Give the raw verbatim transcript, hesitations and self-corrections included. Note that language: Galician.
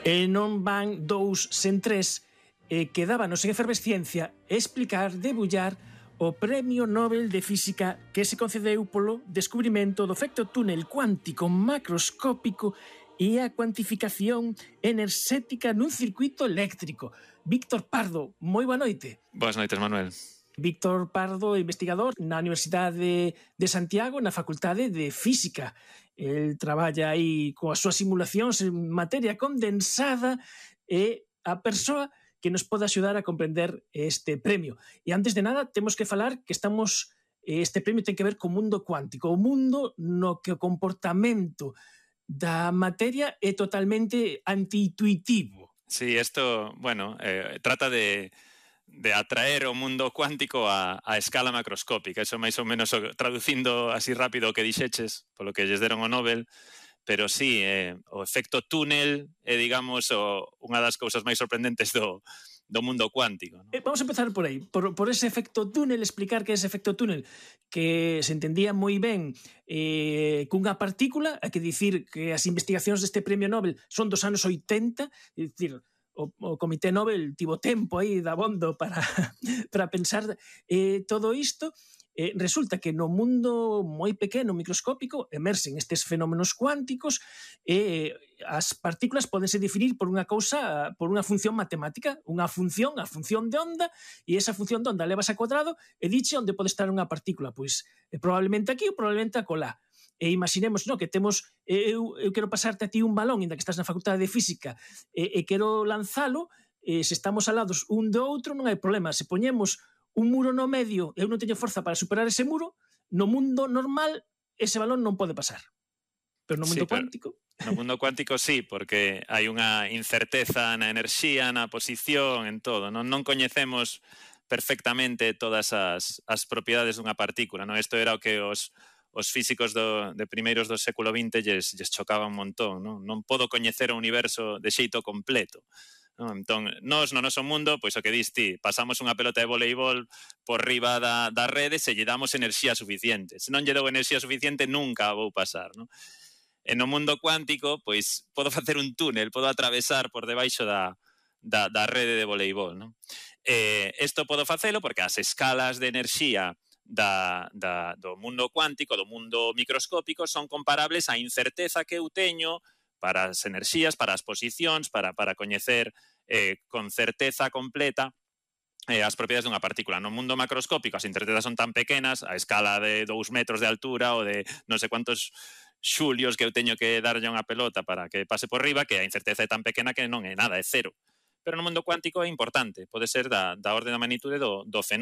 E non van dous sen tres, e quedábanos en efervesciencia explicar, debullar o Premio Nobel de Física que se concedeu polo descubrimento do efecto túnel cuántico macroscópico e a cuantificación enerxética nun circuito eléctrico. Víctor Pardo, moi boa noite. Boas noites, Manuel. Víctor Pardo, investigador na Universidade de Santiago, na Facultade de Física. El traballa aí coas súas simulacións en materia condensada e a persoa que nos pode axudar a comprender este premio. E antes de nada, temos que falar que estamos este premio ten que ver co mundo cuántico, o mundo no que o comportamento da materia é totalmente antiintuitivo. Sí, esto, bueno, eh, trata de... de atraer o mundo cuántico a, a escala macroscópica. Eso máis ou menos traducindo así rápido o que dixeches, polo que lles deron o Nobel, pero sí, eh, o efecto túnel é, digamos, o, unha das cousas máis sorprendentes do, do mundo cuántico, ¿no? Eh, vamos a empezar por aí, por, por ese efecto túnel, explicar que ese efecto túnel que se entendía moi ben eh, cunha partícula, hai que dicir que as investigacións deste premio Nobel son dos anos oitenta, é dicir, O, o Comité Nobel tivo tempo aí dabondo para, para pensar eh, todo isto. Eh, resulta que no mundo moi pequeno, microscópico, emerxen estes fenómenos cuánticos e eh, as partículas podense definir por unha cousa, por unha función matemática, unha función, a función de onda, e esa función de onda levas a cuadrado e diche onde pode estar unha partícula, pois eh, probablemente aquí ou probablemente acolá. E imaginemos, no, que temos, eu, eu quero pasarte a ti un balón, inda que estás na Facultade de Física, e, e quero lanzalo, e se estamos alados un do outro non hai problema. Se poñemos un muro no medio e eu non teño forza para superar ese muro, no mundo normal ese balón non pode pasar. Pero no mundo sí, cuántico... No mundo cuántico sí, porque hai unha incerteza na enerxía, na posición, en todo. Non, non coñecemos perfectamente todas as, as propiedades dunha partícula, non? Isto era o que os... os físicos do, de primeiros do século vinte lles, lles chocaba un montón, non? Non podo coñecer o universo de xeito completo, non? Entón, nós no noso mundo, pois o que dis ti, pasamos unha pelota de voleibol por riba da, da rede se lle damos enerxía suficiente. Se non lle dou enerxía suficiente, nunca a vou pasar, non? E no mundo cuántico, pois, podo facer un túnel, podo atravesar por debaixo da, da, da rede de voleibol, non? Eh, isto podo facelo porque as escalas de enerxía Da, da, do mundo cuántico, do mundo microscópico, son comparables á incerteza que eu teño para as enerxías, para as posicións, para, para coñecer eh, con certeza completa eh, as propiedades dunha partícula. No mundo macroscópico as incertezas son tan pequenas, a escala de dous metros de altura ou de non sei cuántos xulios que eu teño que darlle unha pelota para que pase por riba, que a incerteza é tan pequena que non é nada, é cero. Pero no mundo cuántico é importante, pode ser da, da orde da magnitude do, do fenómeno.